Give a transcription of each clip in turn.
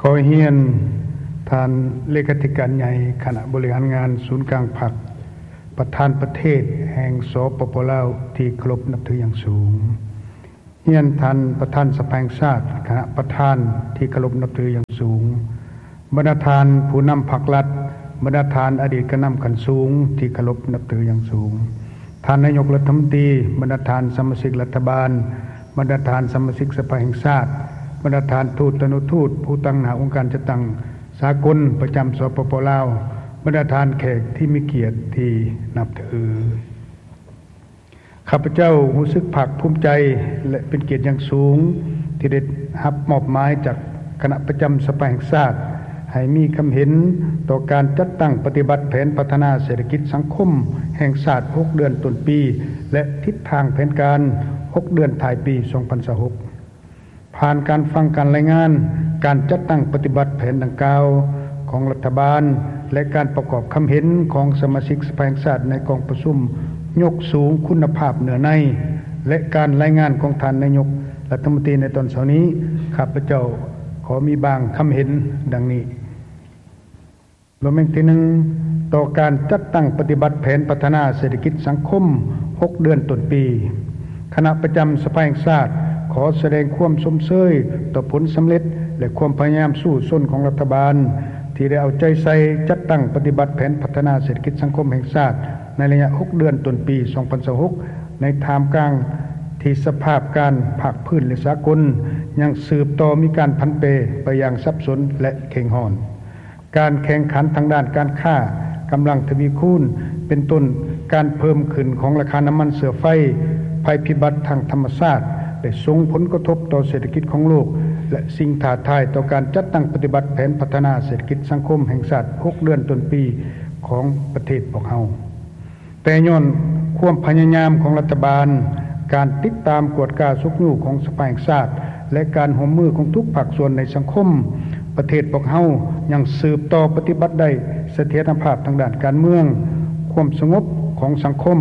ຂໍຮຽນທ່ານເລຂາທິການໃຫຍ່ຄະນະບໍລິຫານງານສູນກາງພັກ, ປະທານປະເທດແຫ່ງ ສປປ ລາວ ທີ່ເຄົາລົບນັບຖືຢ່າງສູງ, ຮຽນທ່ານປະທານສະພາແຫ່ງຊາດ, ຄະນະປະທານທີ່ເຄົາລົບນັບຖືຢ່າງສູງ, ບັນດາທ່ານຜູ້ນຳພັກລັດ, ບັນດາທ່ານອະດີດການນຳຂັ້ນສູງທີ່ເຄົາລົບນັບຖືຢ່າງສູງ, ທ່ານນາຍົກລັດຖະມົນຕີ, ບັນດາທ່ານສະມາຊິກລັດຖະບານ, ບັນດາທ່ານສະມາຊິກສະພາແຫ່ງຊາດ, ບັນດາທ່ານທູດຕານຸທູດ, ຜູ້ຕາງໜ້າອົງການຈັດຕັ້ງສາກົນປະຈຳ ສປປ ລາວ, ບັນດາທ່ານແຂກທີ່ມີກຽດທີ່ນັບຖື. ຂ້າພະເຈົ້າຮູ້ສຶກພາກພູມໃຈ ແລະ ເປັນກຽດຢ່າງສູງ ທີ່ໄດ້ຮັບມອບໝາຍຈາກຄະນະປະຈຳສະພາແຫ່ງຊາດ ໃຫ້ມີຄຳເຫັນຕໍ່ການຈັດຕັ້ງປະຕິບັດແຜນພັດທະນາເສດຖະກິດສັງຄົມແຫ່ງຊາດຫົກເດືອນຕົ້ນປີ ແລະ ທິດທາງແຜນການຫົກເດືອນທ້າຍປີສອງພັນຊາວຫົກ. ຜ່ານການຟັງການລາຍງານການຈັດຕັ້ງປະຕິບັດແຜນດັ່ງກ່າວຂອງລັດຖະບານ ແລະ ການປະກອບຄຳເຫັນຂອງສະມາຊິກສະພາແຫ່ງຊາດໃນກອງປະຊຸມຍົກສູງຄຸນນະພາບເນື້ອໃນ ແລະ ການລາຍງານຂອງທ່ານນາຍົກລັດຖະມົນຕີໃນຕອນເຊົ້ານີ້, ຂ້າພະເຈົ້າຂໍມີບາງຄຳເຫັນດັ່ງນີ້. ລວມແຫ່ງທີໜຶ່ງ, ຕໍ່ການຈັດຕັ້ງປະຕິບັດແຜນພັດທະນາເສດຖະກິດສັງຄົມຫົກເດືອນຕົ້ນປີ, ຄະນະປະຈຳສະພາແຫ່ງຊາດ ຂໍສະແດງຄວາມຊົມເຊີຍຕໍ່ຜົນສຳເລັດ ແລະ ຄວາມພະຍາຍາມສູ້ຊົນຂອງລັດຖະບານ ທີ່ໄດ້ເອົາໃຈໃສ່ຈັດຕັ້ງປະຕິບັດແຜນພັດທະນາເສດຖະກິດສັງຄົມແຫ່ງຊາດ ໃນໄລຍະຫົກເດືອນຕົ້ນປີສອງພັນຊາວຫົກ ໃນທ່າມກາງທີ່ສະພາບການພາກພື້ນ ແລະ ສາກົນ ຍັງສືບຕໍ່ມີການຜັນແປໄປຢ່າງສັບສົນ ແລະ ເຄັ່ງຮ້ອນ. ການແຂ່ງຂັນທາງດ້ານການຄ້າກຳລັງທະວີຄູນ, ເປັນຕົ້ນການເພີ່ມຂຶ້ນຂອງລາຄານ້ຳມັນເຊື້ອໄຟ, ໄພພິບັດທາງທຳມະຊາດ ໄດ້ສົ່ງຜົນກະທົບຕໍ່ເສດຖະກິດຂອງໂລກ ແລະ ສິ່ງທ້າທາຍຕໍ່ການຈັດຕັ້ງປະຕິບັດແຜນພັດທະນາເສດຖະກິດສັງຄົມແຫ່ງຊາດຫົກເດືອນຕົ້ນປີຂອງປະເທດພວກເຮົາ. ແຕ່ຍ້ອນຄວາມພະຍາຍາມຂອງລັດຖະບານ, ການຕິດຕາມກວດກາຊຸກຍູ້ຂອງສະພາແຫ່ງຊາດ ແລະ ການຮ່ວມມືຂອງທຸກພາກສ່ວນໃນສັງຄົມ, ປະເທດພວກເຮົາຍັງສືບຕໍ່ປະຕິບັດໄດ້ສະຖຽນນະພາບທາງດ້ານການເມືອງ, ຄວາມສະຫງົບຂອງສັງຄົມ,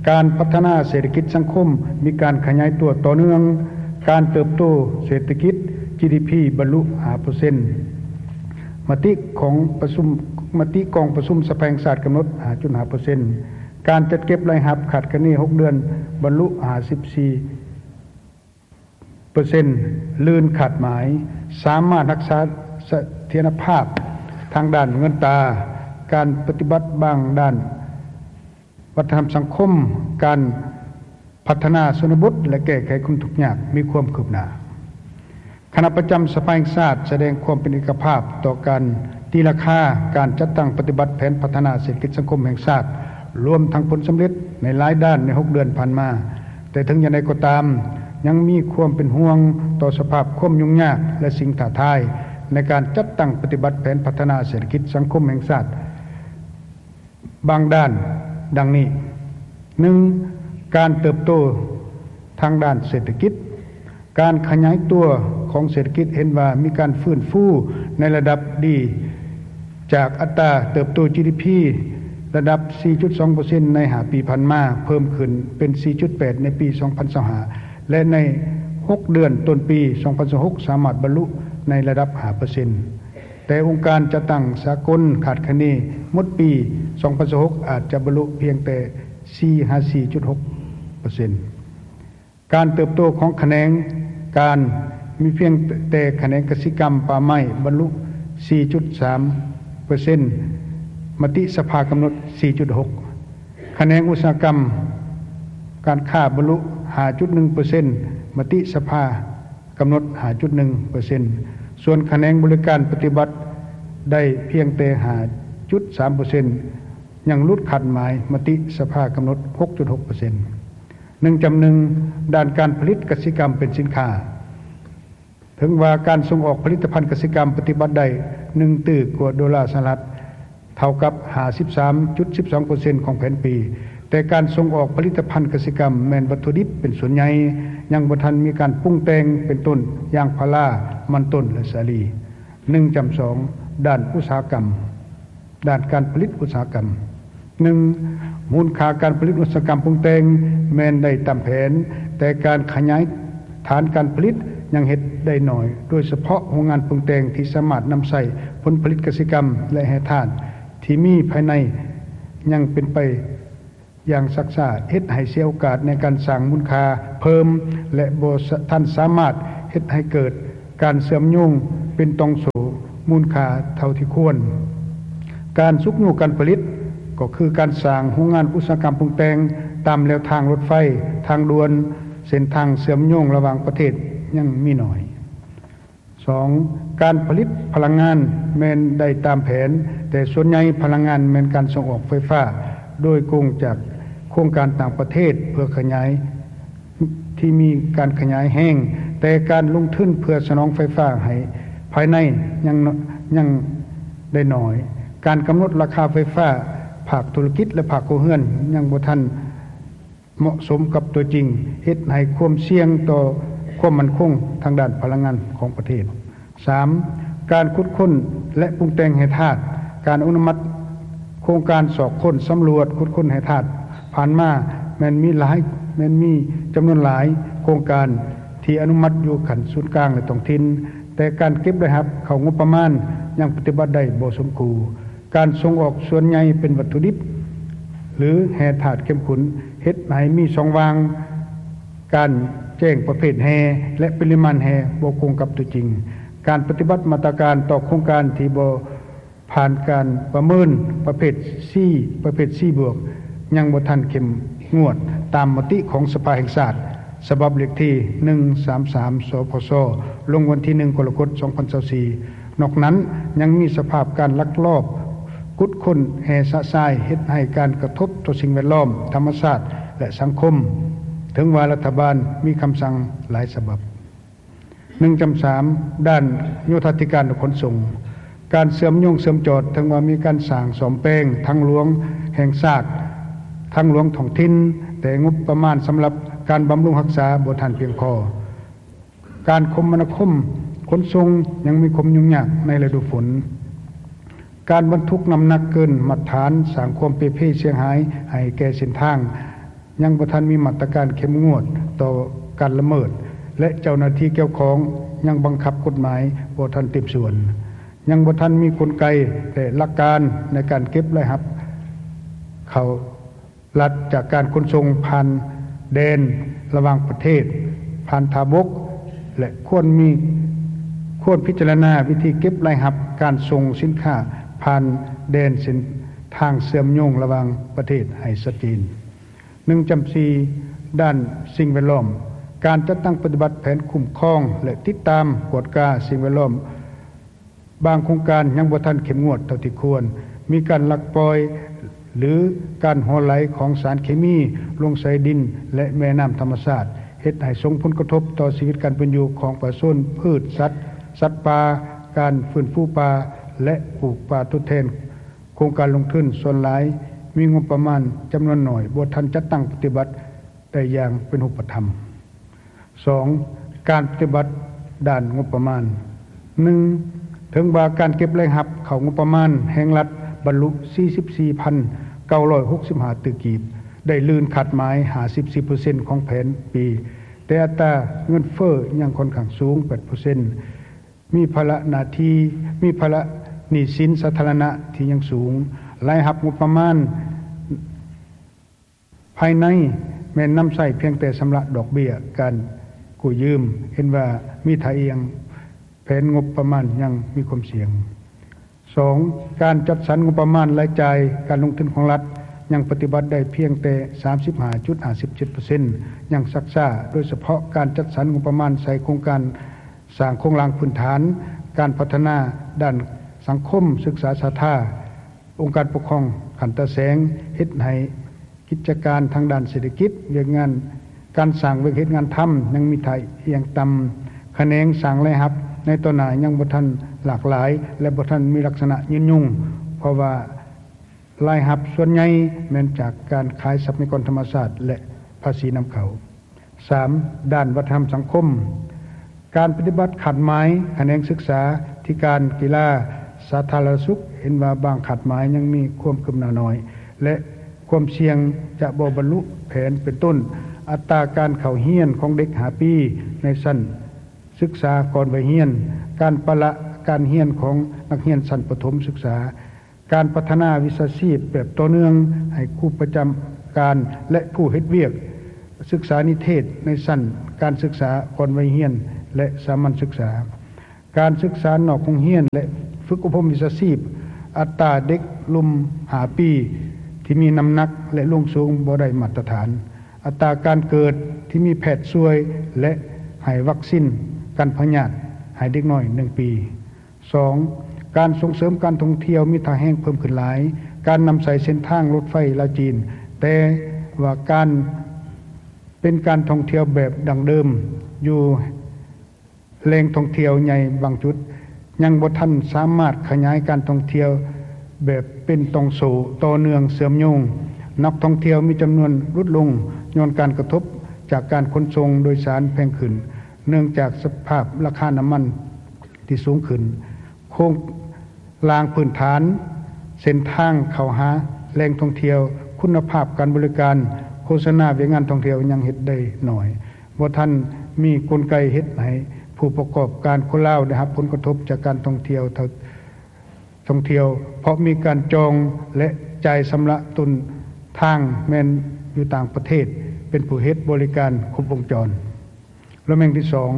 ການພັດທະນາເສດຖະກິດສັງຄົມມີການຂະຫຍາຍຕົວຕໍ່ເນື່ອງ, ການເຕີບໂຕເສດຖະກິດ ຈີດີພີ ບັນລຸຫ້າເປີເຊັນ, ມະຕິຂອງປະຊຸມ, ມະຕິກອງປະຊຸມສະພາແຫ່ງຊາດກຳນົດຫ້າຈຸດຫ້າເປີເຊັນ, ການຈັດເກັບລາຍຮັບຄາດຄະເນຫົກເດືອນບັນລຸຫ້າສິບສີ່ເປີເຊັນ ລື່ນຄາດໝາຍ, ສາມາດຮັກສາສະຖຽນນະພາບທາງດ້ານເງິນຕາ, ການປະຕິບັດບາງດ້ານວັດທະນະທຳສັງຄົມ, ການ ພັດທະນາຊົນນະບົດ ແລະ ແກ້ໄຂຄວາມທຸກຍາກມີຄວາມຄືບໜ້າ. ຄະນະປະຈຳສະພາແຫ່ງຊາດສະແດງຄວາມເປັນເອກະພາບຕໍ່ການຕີລາຄາການຈັດຕັ້ງປະຕິບັດແຜນພັດທະນາເສດຖະກິດສັງຄົມແຫ່ງຊາດ, ລວມທັງຜົນສຳເລັດໃນຫຼາຍດ້ານໃນຫົກເດືອນຜ່ານມາ. ແຕ່ເຖິງຢ່າງໃດກໍຕາມ, ຍັງມີຄວາມເປັນຫ່ວງຕໍ່ສະພາບຄວາມຫຍຸ້ງຍາກ ແລະ ສິ່ງທ້າທາຍໃນການຈັດຕັ້ງປະຕິບັດແຜນພັດທະນາເສດຖະກິດສັງຄົມແຫ່ງຊາດ. ບາງດ້ານ ດັ່ງນີ້, ໜຶ່ງ ການເຕີບໂຕທາງດ້ານເສດຖະກິດ. ການຂະຫຍາຍຕົວຂອງເສດຖະກິດເຫັນວ່າມີການຟື້ນຟູໃນລະດັບດີ ຈາກອັດຕາເຕີບໂຕ ຈີດີພີ ລະດັບສີ່ຈຸດສອງເປີເຊັນ ໃນຫ້າປີຜ່ານມາ, ເພີ່ມຂຶ້ນເປັນສີ່ຈຸດແປດ ໃນປີສອງພັນຊາວຫ້າ ແລະ ໃນຫົກເດືອນຕົ້ນປີສອງພັນຊາວຫົກ ສາມາດບັນລຸໃນລະດັບຫ້າເປີເຊັນ. ແຕ່ອົງການຈັດຕັ້ງສາກົນຄາດຄະເນໝົດປີສອງພັນຊາວຫົກ ອາດຈະບັນລຸພຽງແຕ່ສີ່ຫາສີ່ຈຸດຫົກເປີເຊັນ. ການເຕີບໂຕຂອງຂະແໜງການມີພຽງແຕ່ຂະແໜງກະສິກຳປ່າໄມ້ບັນລຸສີ່ຈຸດສາມເປີເຊັນ, ມະຕິສະພາກຳນົດສີ່ຈຸດຫົກ. ຂະແໜງອຸດສາຫະກຳການຄ້າບັນລຸຫ້າຈຸດໜຶ່ງເປີເຊັນ, ມະຕິສະພາ ກຳນົດຫ້າຈຸດໜຶ່ງເປີເຊັນ, ສ່ວນຂະແໜງບໍລິການປະຕິບັດໄດ້ພຽງແຕ່ຫ້າຈຸດສາມເປີເຊັນ, ຍັງຫຼຸດຄາດໝາຍມະຕິສະພາກຳນົດຫົກຈຸດຫົກເປີເຊັນ. ໜຶ່ງຈຳໜຶ່ງ ດ້ານການຜະລິດກະສິກຳເປັນສິນຄ້າ. ເຖິງວ່າການສົ່ງອອກຜະລິດຕະພັນກະສິກຳປະຕິບັດໄດ້ໜຶ່ງຕື້ກວ່າໂດລາສະຫະລັດ, ເທົ່າກັບຫ້າສິບສາມຈຸດສິບສອງເປີເຊັນຂອງແຜນປີ, ແຕ່ການສົ່ງອອກຜະລິດຕະພັນກະສິກຳແມ່ນວັດຖຸດິບເປັນສ່ວນໃຫຍ່, ຍັງບໍ່ທັນມີການປຸງແຕ່ງ ເປັນຕົ້ນ ຢາງພາລາ, ມັນຕົ້ນ ແລະ ສາລີ. ໜຶ່ງຈຳສອງ ດ້ານອຸດສາຫະກຳ, ດ້ານການຜະລິດອຸດສາຫະກຳ. ໜຶ່ງ, ມູນຄ່າການຜະລິດອຸດສາຫະກຳປຸງແຕ່ງແມ່ນໄດ້ຕາມແຜນ, ແຕ່ການຂະຫຍາຍຖານການຜະລິດ ຍັງເຮັດໄດ້ໜ້ອຍ, ໂດຍສະເພາະໂຮງງານປຸງແຕ່ງທີ່ສາມາດນຳໃຊ້ຜົນຜະລິດກະສິກຳ ແລະ ແຮ່ທາດທີ່ມີພາຍໃນຍັງເປັນໄປຢ່າງຊັກຊ້າ, ເຮັດໃຫ້ເສຍໂອກາດໃນການສ້າງມູນຄ່າເພີ່ມ ແລະ ບໍ່ສະ ທັນສາມາດເຮັດໃຫ້ເກີດການເຊື່ອມໂຍງເປັນຕ່ອງໂສ້ມູນຄ່າເທົ່າທີ່ຄວນ. ການຊຸກຍູ້ການຜະລິດ ກໍຄືການສ້າງໂຮງງານອຸດສາຫະກຳປຸງແຕ່ງຕາມແລວທາງລົດໄຟ, ທາງດ່ວນ, ເສັ້ນທາງເຊື່ອມໂຍງລະຫວ່າງປະເທດຍັງມີໜ້ອຍ. ສອງ, ການຜະລິດພະລັງງານແມ່ນໄດ້ຕາມແຜນ, ແຕ່ສ່ວນໃຫຍ່ພະລັງງານແມ່ນການສົ່ງອອກໄຟຟ້າ ໂດຍກົງຈາກໂຄງການຕ່າງປະເທດເພື່ອຂະຫຍາຍ ທີ່ມີການຂະຫຍາຍແຮງ, ແຕ່ການລົງທຶນເພື່ອສະໜອງໄຟຟ້າໃຫ້ພາຍໃນຍັງ ຍັງໄດ້ໜ້ອຍ. ການກຳນົດລາຄາໄຟຟ້າພາກທຸລະກິດ ແລະ ພາກຄົວເຮືອນຍັງບໍ່ທັນ ເໝາະສົມກັບຕົວຈິງ, ເຮັດໃຫ້ຄວາມສ່ຽງຕໍ່ຄວາມໝັ້ນຄົງທາງດ້ານພະລັງງານຂອງປະເທດ. ສາມ, ການຂຸດຄົ້ນ ແລະ ປຸງແຕ່ງແຮ່ທາດ. ການອະນຸມັດໂຄງການຊອກຄົ້ນສຳຫຼວດຂຸດຄົ້ນແຮ່ທາດຜ່ານມາແມ່ນມີຫຼາຍ, ແມ່ນມີຈຳນວນຫຼາຍໂຄງການທີ່ອະນຸມັດຢູ່ຂັ້ນສູນກາງ ແລະ ທ້ອງຖິ່ນ, ແຕ່ການເກັບລາຍຮັບເຂົ້າງົບປະມານຍັງປະຕິບັດໄດ້ບໍ່ສົມຄູ່. ການສົ່ງອອກສ່ວນໃຫຍ່ເປັນວັດຖຸດິບ ຫຼື ແຮ່ທາດເຂັ້ມຂຸ້ນ, ເຮັດໃຫ້ມີຊ່ອງວ່າງການແຈ້ງປະເພດແຮ່ ແລະ ປະລິມານແຮ່ບໍ່ກົງກັບຕົວຈິງ. ການປະຕິບັດມາດຕະການຕໍ່ໂຄງການທີ່ບໍ່ຜ່ານການປະເມີນປະເພດ C ປະເພດ C ບວກ ຍັງບໍ່ທັນເຂັ້ມງວດຕາມມະຕິຂອງສະພາແຫ່ງຊາດ ສະບັບເລກທີໜຶ່ງສາມສາມ ສພຊ ລົງວັນທີໜຶ່ງ ກໍລະກົດ ສອງພັນຊາວສີ່. ນອກນັ້ນຍັງມີສະພາບການລັກລອບຂຸດຄົ້ນແຮ່ຊະຊາຍ ເຮັດໃຫ້ການກະທົບຕໍ່ສິ່ງແວດລ້ອມ, ທຳມະຊາດ ແລະ ສັງຄົມ, ເຖິງວ່າລັດຖະບານມີຄຳສັ່ງຫຼາຍສະບັບ. ໜຶ່ງຈຳສາມ ດ້ານໂຍທາທິການ ແລະ ຂົນສົ່ງ. ການເຊື່ອມໂຍງເຊື່ອມຈອດ, ເຖິງວ່າມີການສ້າງສ້ອມແປງທາງຫຼວງແຫ່ງຊາດ, ທາງຫຼວງທ້ອງຖິ່ນ, ແຕ່ງົບປະມານສຳລັບການບຳລຸງຮັກສາບໍ່ທັນພຽງພໍ. ການຄົມມະນາຄົມຂົນສົ່ງຍັງມີຄວາມຫຍຸ້ງຍາກໃນລະດູຝົນ. ການບັນທຸກນ້ຳໜັກເກີນມາດຕະຖານສ້າງຄວາມເປ່ເພເສຍຫາຍໃຫ້ແກ່ເສັ້ນທາງ, ຍັງບໍ່ທັນມີມາດຕະການເຂັ້ມງວດຕໍ່ການລະເມີດ ແລະ ເຈົ້າໜ້າທີ່ກ່ຽວຂ້ອງຍັງບັງຄັບກົດໝາຍບໍ່ທັນເຕັມສ່ວນ. ຍັງບໍ່ທັນມີກົນໄກ ແລະ ຫຼັກການໃນການເກັບລາຍຮັບເຂົ້າ ລັດຈາກການຂົນສົ່ງຜ່ານແດນລະຫວ່າງປະເທດ, ຜ່ານທ່າບົກ ແລະ ຄວນມີ, ຄວນພິຈາລະນາວິທີເກັບລາຍຮັບການສົ່ງສິນຄ້າຜ່ານແດນເສັ້ນທາງເຊື່ອມໂຍງລະຫວ່າງປະເທດໃຫ້ຊັດເຈນ. ໜຶ່ງຈຳສີ່ ດ້ານສິ່ງແວດລ້ອມ. ການຈັດຕັ້ງປະຕິບັດແຜນຄຸ້ມຄອງ ແລະ ຕິດຕາມກວດກາສິ່ງແວດລ້ອມ ບາງໂຄງການຍັງບໍ່ທັນເຂັ້ມງວດເທົ່າທີ່ຄວນ, ມີການລັກປ່ອຍ ຫຼື ການຮົ່ວໄຫຼຂອງສານເຄມີລົງໃສ່ດິນ ແລະ ແມ່ນ້ຳທຳມະຊາດ, ເຮັດໃຫ້ສົ່ງຜົນກະທົບຕໍ່ຊີວິດການເປັນຢູ່ຂອງປະຊາຊົນ, ພືດ, ສັດ, ສັດປ່າ, ການຟື້ນຟູປ່າ ແລະ ປູກປ່າທົດແທນ. ໂຄງການລົງທຶນສ່ວນຫຼາຍມີງົບປະມານຈຳນວນໜ້ອຍ, ບໍ່ທັນຈັດຕັ້ງປະຕິບັດໄດ້ຢ່າງເປັນຮູບປະທຳ. ສອງ, ການປະຕິບັດດ້ານງົບປະມານ. ໜຶ່ງ, ເຖິງວ່າການເກັບລາຍຮັບເຂົ້າງົບປະມານແຫ່ງລັດບັນລຸສີ່ສິບສີ່ພັນເກົ້າຮ້ອຍຫົກສິບຫ້າຕື້ກີບ, ໄດ້ລື່ນຄາດໝາຍຫ້າສິບສີ່ເປີເຊັນຂອງແຜນປີ, ແຕ່ອັດຕາເງິນເຟີ້ຍັງຂ້ອນຂ້າງສູງ ແປດເປີເຊັນ, ມີພາລະໜ້າທີ່, ມີພາລະໜີ້ສິນສາທາລະນະທີ່ຍັງສູງ, ລາຍຮັບງົບປະມານ ພາຍໃນແມ່ນນຳໃຊ້ພຽງແຕ່ຊຳລະດອກເບ້ຍການກູ້ຢືມ, ເຫັນວ່າມີທ່າອ່ຽງ, ແຜນງົບປະມານຍັງມີຄວາມສ່ຽງ. ສອງ, ການຈັດສັນງົບປະມານລາຍຈ່າຍການລົງທຶນຂອງລັດຍັງປະຕິບັດໄດ້ພຽງແຕ່ສາມສິບຫ້າຈຸດຫ້າສິບເຈັດເປີເຊັນ ຍັງຊັກຊ້າ, ໂດຍສະເພາະການຈັດສັນງົບປະມານໃສ່ໂຄງການສ້າງໂຄງລ່າງພື້ນຖານ, ການພັດທະນາດ້ານສັງຄົມ, ສຶກສາສາທາ, ອົງການປົກຄອງຂັ້ນຕາແສງ, ເຮັດໃຫ້ ກິດຈະການທາງດ້ານເສດຖະກິດ, ວຽກງານການສ້າງວຽກເຮັດງານທຳຍັງມີທ່າອ່ຽງຕ່ຳ, ຂະແໜງສ້າງລາຍຮັບໃນຕໍ່ໜ້າຍັງບໍ່ທັນຫຼາກຫຼາຍ ແລະ ບໍ່ທັນມີລັກສະນະຍືນຍົງ, ເພາະວ່າລາຍຮັບສ່ວນໃຫຍ່ແມ່ນຈາກການຂາຍຊັບພະຍາກອນທຳມະຊາດ ແລະ ພາສີນຳເຂົ້າ. ສາມ, ດ້ານວັດທະນະທຳສັງຄົມ. ການປະຕິບັດຄາດໝາຍຂະແໜງສຶກສາທິການ, ກິລາ, ສາທາລະນະສຸກ ເຫັນວ່າບາງຄາດໝາຍຍັງມີຄວາມຄືບໜ້າໜ້ອຍ ແລະ ຄວາມສ່ຽງຈະບໍ່ບັນລຸແຜນ ເປັນຕົ້ນ ອັດຕາການເຂົ້າຮຽນຂອງເດັກຫ້າປີໃນຊັ້ນ ສຶກສາກ່ອນໄວຮຽນ, ການປະລະການຮຽນຂອງນັກຮຽນຊັ້ນປະຖົມສຶກສາ, ການພັດທະນາວິຊາຊີບແບບຕໍ່ເນື່ອງໃຫ້ຄູປະຈຳການ ແລະ ຜູ້ເຮັດວຽກສຶກສານິເທດໃນຊັ້ນການສຶກສາກ່ອນໄວຮຽນ ແລະ ສາມັນສຶກສາ, ການສຶກສານອກໂຮງຮຽນ ແລະ ຝຶກອົບຮົມວິຊາຊີບ, ອັດຕາເດັກລຸ່ມຫ້າປີທີ່ມີນ້ຳໜັກ ແລະ ລວງສູງບໍ່ໄດ້ມາດຕະຖານ, ອັດຕາການເກີດທີ່ມີແພດຊ່ວຍ ແລະ ໃຫ້ວັກຊິນກັນພະຍາດໃຫ້ເດັກນ້ອຍໜຶ່ງປີ. ສອງ, ການສົ່ງເສີມການທ່ອງທ່ຽວມີທ່າແຮງເພີ່ມຂຶ້ນຫຼາຍ, ການນຳໃຊ້ເສັ້ນທາງລົດໄຟລາວ-ຈີນ, ແຕ່ວ່າການ ເປັນການທ່ອງທ່ຽວແບບດັ້ງເດີມຢູ່ແຫຼ່ງທ່ອງທ່ຽວໃຫຍ່ບາງຈຸດ, ຍັງບໍ່ທັນສາມາດຂະຫຍາຍການທ່ອງທ່ຽວແບບເປັນຕ່ອງໂສ້ຕໍ່ເນື່ອງເຊື່ອມໂຍງ. ນັກທ່ອງທ່ຽວມີຈຳນວນຫຼຸດລົງຍ້ອນການກະທົບຈາກການຂົນສົ່ງໂດຍສານແພງຂຶ້ນ ເນື່ອງຈາກສະພາບລາຄານ້ຳມັນທີ່ສູງຂຶ້ນ. ໂຄງລ່າງພື້ນຖານ, ເສັ້ນທາງເຂົ້າຫາແຫຼ່ງທ່ອງທ່ຽວ, ຄຸນນະພາບການບໍລິການ, ໂຄສະນາວຽກງານທ່ອງທ່ຽວຍັງເຮັດໄດ້ໜ້ອຍ, ບໍ່ທັນມີກົນໄກເຮັດໃຫ້ຜູ້ປະກອບການຄົນລາວໄດ້ຮັບຜົນກະທົບຈາກການທ່ອງທ່ຽວເທົ່າ ທ່ອງທ່ຽວ ເພາະມີການຈອງ ແລະ ຈ່າຍຊຳລະຕົ້ນທາງແມ່ນຢູ່ຕ່າງປະເທດເປັນຜູ້ເຮັດບໍລິການຄົບວົງຈອນ. ລະແມ່ງທີສອງ,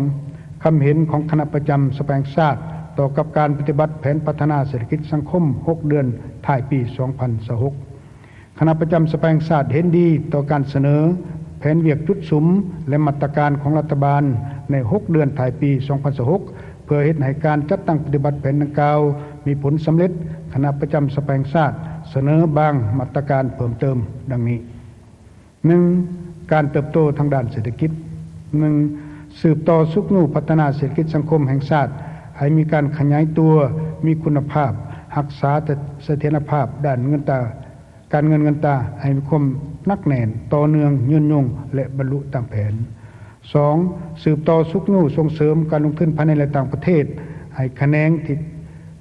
ຄຳເຫັນຂອງຄະນະປະຈຳສະພາແຫ່ງຊາດຕໍ່ກັບການປະຕິບັດແຜນພັດທະນາເສດຖະກິດສັງຄົມຫົກເດືອນທ້າຍປີສອງພັນຊາວຫົກ. ຄະນະປະຈຳສະພາແຫ່ງຊາດເຫັນດີຕໍ່ການສະເໜີແຜນວຽກຈຸດສຸມ ແລະ ມາດຕະການຂອງລັດຖະບານໃນຫົກເດືອນທ້າຍປີສອງພັນຊາວຫົກ ເພື່ອເຮັດໃຫ້ການຈັດຕັ້ງປະຕິບັດແຜນດັ່ງກ່າວມີຜົນສຳເລັດ. ຄະນະປະຈຳສະພາແຫ່ງຊາດສະເໜີບາງມາດຕະການເພີ່ມເຕີມດັ່ງນີ້. ໜຶ່ງ, ການເຕີບໂຕທາງດ້ານເສດຖະກິດ. ໜຶ່ງ, ສືບຕໍ່ຊຸກຍູ້ພັດທະນາເສດຖະກິດສັງຄົມແຫ່ງຊາດໃຫ້ມີການຂະຫຍາຍຕົວ, ມີຄຸນນະພາບ, ຮັກສາສະຖຽນລະພາບດ້ານເງິນຕາ, ການເງິນເງິນຕາໃຫ້ມີຄວາມໜັກແໜ້ນ, ຕໍ່ເນື່ອງ, ຍືນຍົງ ແລະ ບັນລຸຕາມແຜນ. ສອງ, ສືບຕໍ່ຊຸກຍູ້ສົ່ງເສີມການລົງທຶນພາຍໃນ ແລະ ຕ່າງປະເທດ ໃຫ້ຂະແໜງທີ່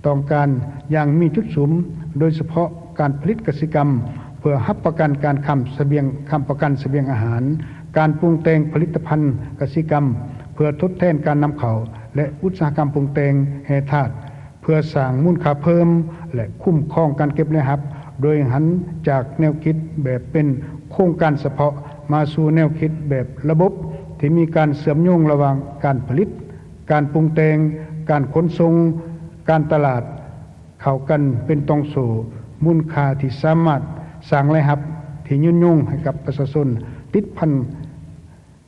ຕ້ອງການຢ່າງມີຈຸດສຸມ, ໂດຍສະເພາະການຜະລິດກະສິກຳເພື່ອຮັບປະກັນການຄ້ຳສະບຽງ, ຄ້ຳປະກັນສະບຽງອາຫານ, ການປຸງແຕ່ງຜະລິດຕະພັນກະສິກຳເພື່ອທົດແທນການນຳເຂົ້າ ແລະ ອຸດສາຫະກຳປຸງແຕ່ງແຮ່ທາດ ເພື່ອສ້າງມູນຄ່າເພີ່ມ ແລະ ຄຸ້ມຄອງການເກັບລາຍຮັບ ໂດຍຫັນຈາກແນວຄິດແບບເປັນໂຄງການສະເພາະ ມາສູ່ແນວຄິດແບບລະບົບທີ່ມີການເຊື່ອມໂຍງລະຫວ່າງການຜະລິດ, ການປຸງແຕ່ງ, ການຂົນສົ່ງ, ການຕະຫຼາດ ເຂົ້າກັນເປັນຕ່ອງໂສ້ມູນຄ່າທີ່ສາມາດສ້າງລາຍຮັບທີ່ຍືນຍົງໃຫ້ກັບປະຊາຊົນ, ຕິດພັນ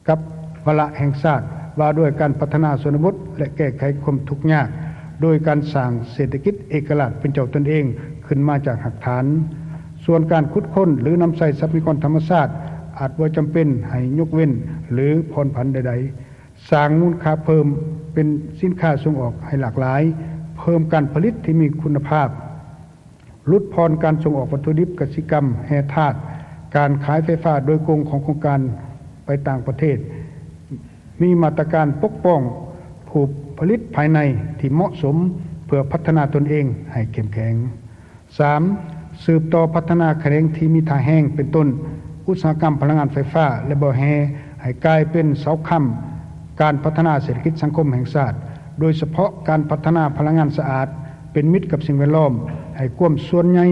ກັບວາລະແຫ່ງຊາດວ່າດ້ວຍການພັດທະນາຊົນນະບົດ ແລະ ແກ້ໄຂຄວາມທຸກຍາກ ໂດຍການສ້າງເສດຖະກິດເອກະລາດເປັນເຈົ້າຕົນເອງຂຶ້ນມາຈາກຮາກຖານ. ສ່ວນການຂຸດຄົ້ນ ຫຼື ນຳໃຊ້ຊັບພະຍາກອນທຳມະຊາດ ອາດບໍ່ຈຳເປັນໃຫ້ຍົກເວັ້ນ ຫຼື ຜ່ອນຜັນໃດໆ. ສ້າງມູນຄ່າເພີ່ມເປັນສິນຄ້າສົ່ງອອກໃຫ້ຫຼາກຫຼາຍ, ເພີ່ມການຜະລິດທີ່ມີຄຸນນະພາບ, ຫຼຸດຜ່ອນການສົ່ງອອກວັດຖຸດິບກະສິກຳແຮ່ທາດ, ການຂາຍໄຟຟ້າໂດຍກົງຂອງໂຄງການໄປຕ່າງປະເທດ, ມີມາດຕະການປົກປ້ອງຜູ້ຜະລິດພາຍໃນທີ່ເໝາະສົມ ເພື່ອພັດທະນາຕົນເອງໃຫ້ເຂັ້ມແຂງ. ສາມ, ສືບຕໍ່ພັດທະນາຂະແໜງທີ່ມີທ່າແຮງ ເປັນຕົ້ນ ອຸດສາຫະກຳພະລັງງານໄຟຟ້າ ແລະ ບໍ່ແຮ່ ໃຫ້ກາຍເປັນເສົາຄ້ຳການພັດທະນາເສດຖະກິດສັງຄົມແຫ່ງຊາດ, ໂດຍສະເພາະການພັດທະນາພະລັງງານສະອາດ ເປັນມິດກັບສິ່ງແວດລ້ອມ, ໃຫ້ຄວາມສ່ວນໃຫຍ່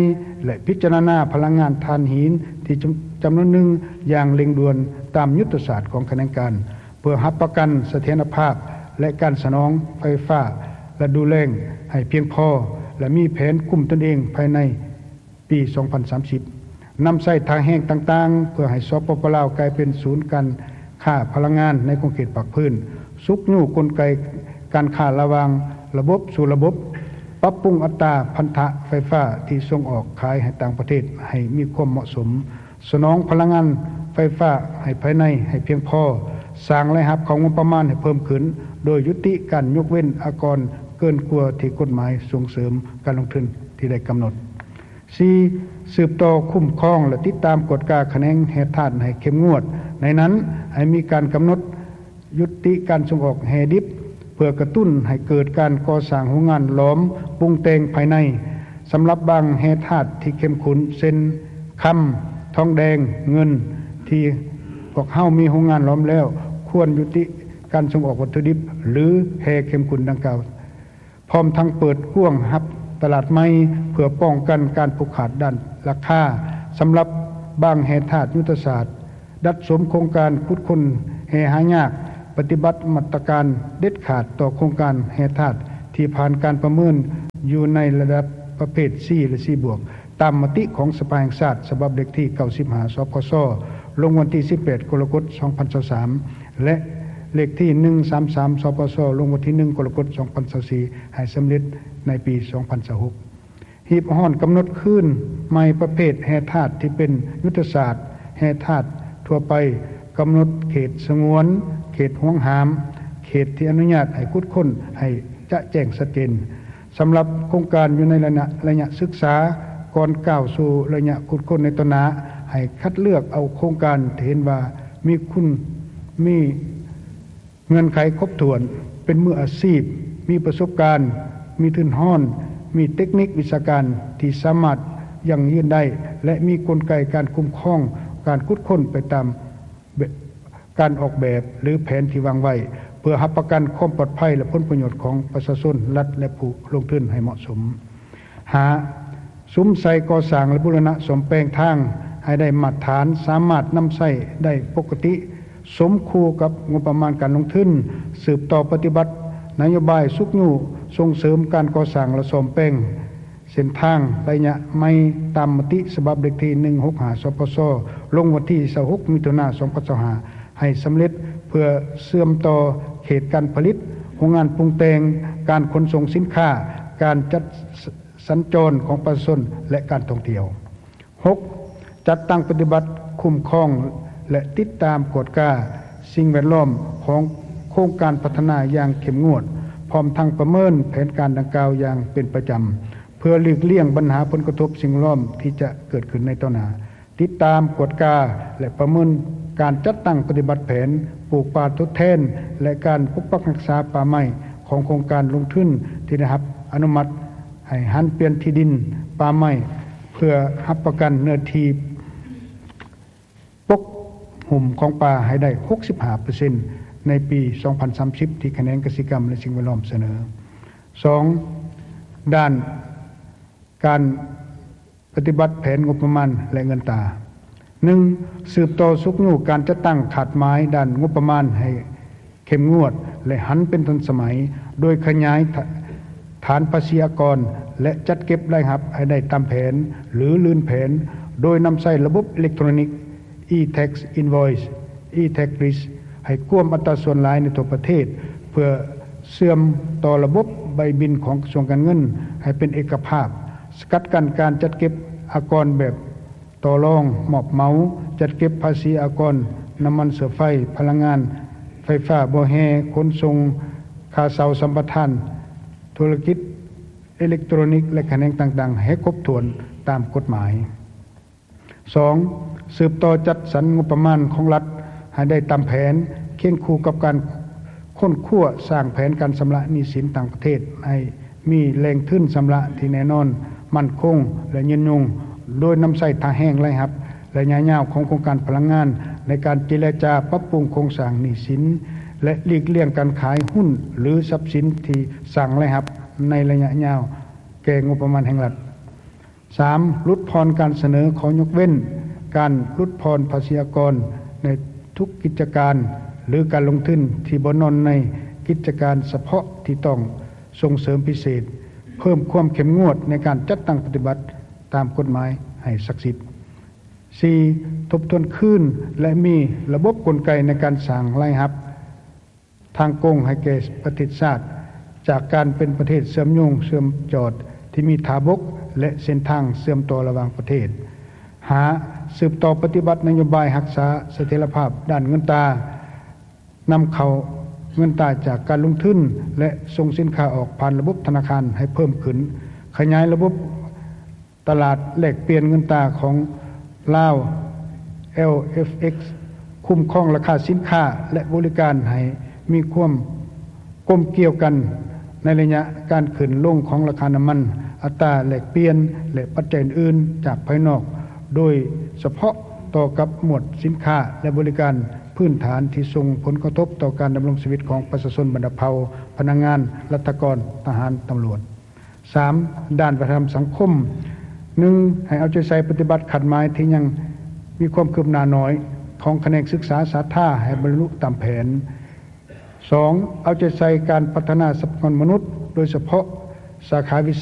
ແລະ ພິຈາລະນາພະລັງງານຖ່ານຫີນທີ່ຈຳ ຈຳນວນໜຶ່ງຢ່າງເລັ່ງດ່ວນຕາມຍຸດທະສາດຂອງຂະແໜງການ. ເພື່ອຮັບປະກັນສະຖຽນລະພາບ ແລະ ການສະໜອງໄຟຟ້າລະດູແລ້ງໃຫ້ພຽງພໍ ແລະ ມີແຜນຄຸ້ມຕົນເອງພາຍໃນປີສອງພັນສາມສິບ. ນຳໃຊ້ທ່າແຮງຕ່າງໆ ເພື່ອໃຫ້ ສປປ ລາວ ກາຍເປັນສູນການຄ້າພະລັງງານໃນຂົງເຂດພາກພື້ນ, ຊຸກຍູ້ກົນໄກການຄ້າລະຫວ່າງລະບົບສູ່ລະບົບ, ປັບປຸງອັດຕາພັນທະໄຟຟ້າທີ່ສົ່ງອອກຂາຍໃຫ້ຕ່າງປະເທດໃຫ້ມີຄວາມເໝາະສົມ, ສະໜອງພະລັງງານໄຟຟ້າໃຫ້ພາຍໃນໃຫ້ພຽງພໍ, ສ້າງລາຍຮັບເຂົ້າງົບປະມານໃຫ້ເພີ່ມຂຶ້ນ ໂດຍຍຸຕິການຍົກເວັ້ນອາກອນເກີນກວ່າທີ່ກົດໝາຍສົ່ງເສີມການລົງທຶນທີ່ໄດ້ກຳນົດ. ສີ່, ສືບຕໍ່ຄຸ້ມຄອງ ແລະ ຕິດຕາມກວດກາຂະແໜງແຮ່ທາດໃຫ້ເຂັ້ມງວດ, ໃນນັ້ນໃຫ້ມີການກຳນົດ ຍຸຕິການສົ່ງອອກແຮ່ດິບ ເພື່ອກະຕຸ້ນໃຫ້ເກີດການກໍ່ສ້າງໂຮງງານຫຼອມປຸງແຕ່ງພາຍໃນ ສຳລັບບາງແຮ່ທາດທີ່ເຂັ້ມຂຸ້ນ ເຊັ່ນ ຄຳ, ທອງແດງ, ເງິນ ທີ່ພວກເຮົາມີໂຮງງານຫຼອມແລ້ວ ຄວນຍຸຕິ ການສົ່ງອອກວັດຖຸດິບ ຫຼື ແຮ່ເຂັມຂຸດດັ່ງກ່າວ, ພ້ອມທັງເປີດກວ້າງຮັບຕະຫຼາດໃໝ່ ເພື່ອປ້ອງກັນການຜູກຂາດດ້ານລາຄາ. ສຳລັບບາງແຮ່ທາດຍຸດທະສາດ, ດັດສົມໂຄງການຂຸດຄົ້ນແຮ່ຫາຍາກ, ປະຕິບັດມາດຕະການເດັດຂາດຕໍ່ໂຄງການແຮ່ທາດທີ່ຜ່ານການປະເມີນຢູ່ໃນລະດັບປະເພດ C ແລະ C ບວກ ຕາມມະຕິຂອງສະພາແຫ່ງຊາດ ສະບັບເລກທີ ເກົ້າສິບຫ້າ ສພຊ ລົງວັນທີ ສິບແປດ ກໍລະກົດ ສອງພັນຊາວສາມ ແລະ ເລກທີ ໜຶ່ງສາມສາມ ສພຊ ລົງວັນທີ ໜຶ່ງ ກໍລະກົດ ສອງພັນຊາວສີ່ ໃຫ້ສຳເລັດໃນປີ ສອງພັນຊາວຫົກ. ຮີບຮ້ອນກຳນົດຄືນໃໝ່ປະເພດແຮ່ທາດທີ່ເປັນຍຸດທະສາດແຮ່ທາດທົ່ວໄປ, ກຳນົດເຂດສະຫງວນ, ເຂດຫວງຫ້າມ, ເຂດທີ່ອະນຸຍາດໃຫ້ຂຸດຄົ້ນໃຫ້ຈະແຈ້ງຊັດເຈນ. ສຳລັບໂຄງການຢູ່ໃນໄລຍະ, ໄລຍະສຶກສາ, ກ່ອນກ້າວສູ່ໄລຍະຂຸດຄົ້ນໃນຕໍ່ໜ້າ, ໃຫ້ຄັດເລືອກເອົາໂຄງການທີ່ເຫັນວ່າມີຄຸນ, ມີເງື່ອນໄຂຄົບຖ້ວນ, ເປັນມືອາຊີບ, ມີປະສົບການ, ມີທຶນຮອນ, ມີເຕັກນິກວິຊາການທີ່ສາມາດຢັ້ງຢືນໄດ້ ແລະ ມີກົນໄກການຄຸ້ມຄອງການຂຸດຄົ້ນໄປຕາມ ແບບ ການອອກແບບ ຫຼື ແຜນທີ່ວາງໄວ້ ເພື່ອຮັບປະກັນຄວາມປອດໄພ ແລະ ຜົນປະໂຫຍດຂອງປະຊາຊົນ, ລັດ ແລະ ຜູ້ລົງທຶນໃຫ້ເໝາະສົມ. ຫ້າ. ສຸມໃສ່ກໍ່ສ້າງ ແລະ ບູລະນະສ້ອມແປງທາງໃຫ້ໄດ້ມາດຖານ, ສາມາດນຳໃຊ້ໄດ້ປົກກະຕິ, ສົມຄູ່ກັບງົບປະມານການລົງທຶນ, ສືບຕໍ່ປະຕິບັດນະໂຍບາຍຊຸກຍູ້ສົ່ງເສີມການກໍ່ສ້າງ ແລະ ສ້ອມແປງ ເສັ້ນທາງໄລຍະໃໝ່ຕາມມະຕິສະບັບເລກທີ ໜຶ່ງຫົກຫ້າ ສພຊ ລົງວັນທີ ຊາວຫົກ ມິຖຸນາ ສອງພັນຊາວຫ້າ ໃຫ້ສຳເລັດ ເພື່ອເຊື່ອມຕໍ່ເຂດການຜະລິດ, ໂຮງງານປຸງແຕ່ງ, ການຂົນສົ່ງສິນຄ້າ, ການຈັດ ສ- ສັນຈອນຂອງປະຊາຊົນ ແລະ ການທ່ອງທ່ຽວ. ຫົກ. ຈັດຕັ້ງປະຕິບັດ, ຄຸ້ມຄອງ ແລະ ຕິດຕາມກວດກາສິ່ງແວດລ້ອມຂອງໂຄງການພັດທະນາຢ່າງເຂັ້ມງວດ, ພ້ອມທັງປະເມີນແຜນການດັ່ງກ່າວຢ່າງເປັນປະຈຳ ເພື່ອຫຼີກລ່ຽງບັນຫາຜົນກະທົບສິ່ງແວດລ້ອມທີ່ຈະເກີດຂຶ້ນໃນຕໍ່ໜ້າ, ຕິດຕາມ, ກວດກາ ແລະ ປະເມີນການຈັດຕັ້ງປະຕິບັດແຜນປູກປ່າທົດແທນ ແລະ ການປົກປັກຮັກສາປ່າໄມ້ຂອງໂຄງການລົງທຶນທີ່ໄດ້ຮັບອະນຸມັດໃຫ້ຫັນປ່ຽນທີ່ດິນປ່າໄມ້ ເພື່ອຮັບປະກັນເນື້ອທີ່ປົກຫຸ້ມຂອງປ່າໃຫ້ໄດ້ ຫົກສິບຫ້າເປີເຊັນ ໃນປີ ສອງພັນສາມສິບ ທີ່ຂະແໜງກະສິກຳ ແລະ ສິ່ງແວດລ້ອມສະເໜີ. ສອງ. ດ້ານການປະຕິບັດແຜນງົບປະມານ ແລະ ເງິນຕາ. ໜຶ່ງ. ສືບຕໍ່ຊຸກຍູ້ການຈັດຕັ້ງຄາດໝາຍດ້ານງົບປະມານໃຫ້ເຂັ້ມງວດ ແລະ ຫັນເປັນທັນສະໄໝ, ໂດຍຂະຫຍາຍຖ- ຖານພາສີອາກອນ ແລະ ຈັດເກັບລາຍຮັບໃຫ້ໄດ້ຕາມແຜນ ຫຼື ລື່ນແຜນ, ໂດຍນຳໃຊ້ລະບົບເອເລັກໂທຣນິກ e-tax invoice, e-tax list ໃຫ້ກວມອັດຕາສ່ວນຫຼາຍໃນທົ່ວປະເທດ ເພື່ອເຊື່ອມຕໍ່ລະບົບໃບບິນຂອງກະຊວງການເງິນໃຫ້ເປັນເອກະພາບ, ສະກັດກັ້ນການຈັດເກັບອາກອນແບບຕໍ່ລອງ, ມອບເໝົາ, ຈັດເກັບພາສີອາກອນ, ນ້ຳມັນເຊື້ອໄຟ, ພະລັງງານໄຟຟ້າ, ບໍ່ແຮ່, ຂົນສົ່ງ, ຄ່າເຊົ່າສຳປະທານ, ທຸລະກິດເອເລັກໂທຣນິກ ແລະ ຂະແໜງຕ່າງໆ ໃຫ້ຄົບຖ້ວນຕາມກົດໝາຍ. ສອງ. ສືບຕໍ່ຈັດສັນງົບປະມານຂອງລັດໃຫ້ໄດ້ຕາມແຜນ, ຄຽງຄູ່ກັບການຄົ້ນຄວ້າສ້າງແຜນການຊຳລະໜີ້ສິນຕ່າງປະເທດ ໃຫ້ມີແຫຼ່ງທຶນຊຳລະທີ່ແນ່ນອນ, ໝັ້ນຄົງ ແລະ ຍືນຍົງ, ໂດຍນຳໃຊ້ທ່າແຮງລາຍຮັບໄລຍະຍາວຂອງໂຄງການພະລັງງານ ໃນການເຈລະຈາປັບປຸງໂຄງສ້າງໜີ້ສິນ ແລະ ຫຼີກລ່ຽງການຂາຍຫຸ້ນ ຫຼື ຊັບສິນທີ່ສ້າງລາຍຮັບໃນໄລຍະຍາວແກ່ງົບປະມານແຫ່ງລັດ. ສາມ. ຫຼຸດຜ່ອນການສະເໜີຂໍຍົກເວັ້ນການຫຼຸດຜ່ອນພາສີອາກອນໃນທຸກກິດຈະການ ຫຼື ການລົງທຶນທີ່ບໍ່ນອນໃນກິດຈະການສະເພາະທີ່ຕ້ອງສົ່ງເສີມພິເສດ, ເພີ່ມຄວາມເຂັ້ມງວດໃນການຈັດຕັ້ງປະຕິບັດຕາມກົດໝາຍໃຫ້ສັກສິດ. ສີ່. ທົບທວນຄືນ ແລະ ມີລະບົບກົນໄກໃນການສ້າງລາຍຮັບ ທາງກົງໃຫ້ແກ່ປະເທດຊາດ ຈາກການເປັນປະເທດເຊື່ອມໂຍງເຊື່ອມຈອດທີ່ມີທ່າບົກ ແລະ ເສັ້ນທາງເຊື່ອມຕໍ່ລະຫວ່າງປະເທດ. ຫ້າ. ສືບຕໍ່ປະຕິບັດນະໂຍບາຍຮັກສາສະຖຽນລະພາບດ້ານເງິນຕາ, ນຳເຂົ້າເງິນຕາຈາກການລົງທຶນ ແລະ ສົ່ງສິນຄ້າອອກຜ່ານລະບົບທະນາຄານໃຫ້ເພີ່ມຂຶ້ນ, ຂະຫຍາຍລະບົບ ຕະຫຼາດແລກປ່ຽນເງິນຕາຂອງລາວ LFX, ຄຸ້ມຄອງລາຄາສິນຄ້າ ແລະ ບໍລິການໃຫ້ມີຄວາມກົມກ່ຽວກັນໃນໄລຍະການຂຶ້ນລົງຂອງລາຄານ້ຳມັນ, ອັດຕາແລກປ່ຽນ ແລະ ປັດໄຈອື່ນໆຈາກພາຍນອກ, ໂດຍສະເພາະຕໍ່ກັບໝວດສິນຄ້າ ແລະ ບໍລິການ ພື້ນຖານທີ່ສົ່ງຜົນກະທົບຕໍ່ການດຳລົງຊີວິດຂອງປະຊາຊົນບັນດາເຜົ່າ, ພະນັກງານ, ລັດຖະກອນ, ທະຫານ, ຕຳຫຼວດ. ສາມ, ດ້ານວັດທະນະທຳສັງຄົມ. ໜຶ່ງ, ໃຫ້ເອົາໃຈໃສ່ປະຕິບັດຄາດໝາຍທີ່ຍັງມີຄວາມຄືບໜ້າໜ້ອຍຂອງຂະແໜງສຶກສາສາທາໃຫ້ບັນລຸຕາມແຜນ. ສອງ, ເອົາໃຈໃສ່ການພັດທະນາຊັບພະຍາກອນມະນຸດ, ໂດຍສະເພາະສາຂາວິຊາ